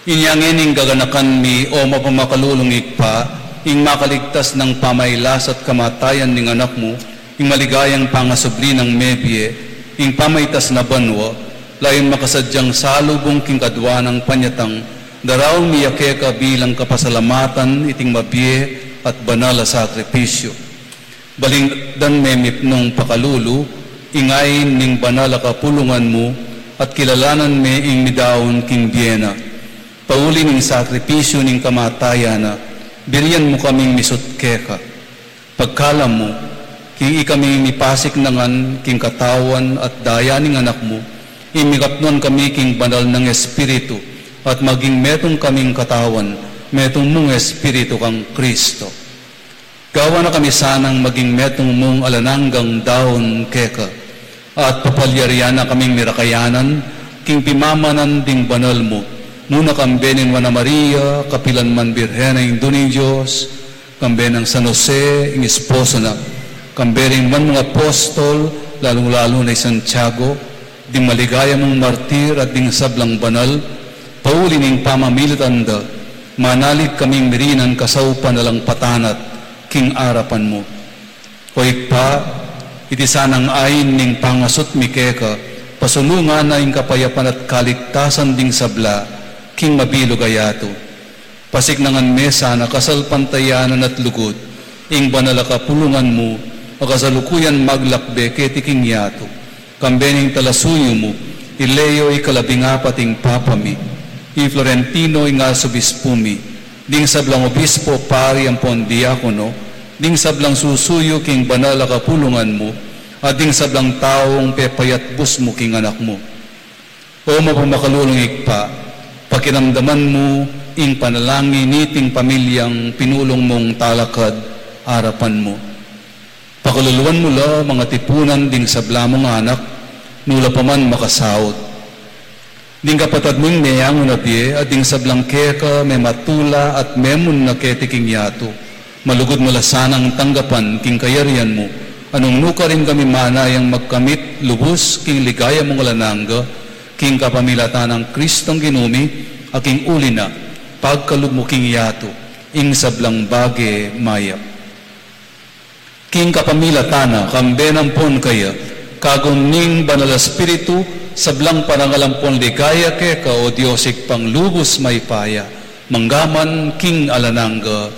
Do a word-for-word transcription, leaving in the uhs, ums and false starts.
Inya ngeni ing gaganakan mi, o mapamakalulung Ibpa, ing makaligtas nang pamailas at kamatayan ning Anak mu, ing maligayang pangasubli nang mebie, ing pamaitas na banua, layun makasadyang salubung king kadua nang panyatang, daraun mi ya keka bilang kapasalamatan iting mabie at banal a sakripisyu. Balikdan me mipnung pakalulu, ing ain ning banal a kapulungan mu, at kilalanan me ing midaun king bie na. Pauli ning sakripisyu ning kamatayan na, birian mu kaming misut keka. Pagkalam mu, king ikaming mipasiknangan king katawan at daya ning Anak mu, ing mikapnuan kami king banal nang Espiritu, at maging metung kaming katawan, metung mung Espiritu kang Kristo. Gawan na kami sanang maging metung mung alang anggang daun keka, at papalyarian na kaming mirakayanan king pimamanan ding banal mu, nung kambe ning Nuan a Maria, kapilan man Birhen a Indu ning Dios, kambe nang San Jose, ing esposo na, kambe ring banal mung apostol, lalung-lalu na i Santiago, ding maligaya mung martir at ding sablang banal, pauli ning pamamilatan da, manalig kaming mirinan kasaupan alang patanat king arapan mu. O Ibpa, iti sanang ain ning pangasut mi keka, pasulungan na ing kapayapan at kaligtasan ding sabla king mabilug a yatu. Pasiknangan me sana kasalpantayanan at lugud ing banal a kapulungan mu, a kasalukuyan maglakbe keti king yatu. Kambe ning talasuyu mu, i Leo ikalabing apat ing Papa mi, i Florentino ing Arsobispu mi, ding sablang obispo, pari ampon diakono, ding sablang susuyu king banal a kapulungan mu, at ding sablang taung pepayatbus mu king Anak mu. O mapamakalulung Ibpa, pakiramdaman mu ing panalangin niting pamilyang pinulung mung talakad arapan mu. Pakaluluan mu la, mangatipunan ding sabla mung anak, nu la pa man makasaut. Ding kapatad ming meyangu na bie, at ding sablang keka mematula at memunna keti king yatu. Malugud mu la sanang tanggapan king kayarian mu, a nung nukarin kami manayang magkamit lubus king ligaya mung alang angga, king kapamilatan nang Kristong Ginu mi, a king uli na, pagkalub mu king yatu ing sablang bage mayap. King kapamilatan na, kambe na ampon kaya, kagum ning Banal a Espiritu, sablang parangal ampon ligaya keka, o Dios Ibpang lubus mayupaya, mangga man king alang angga.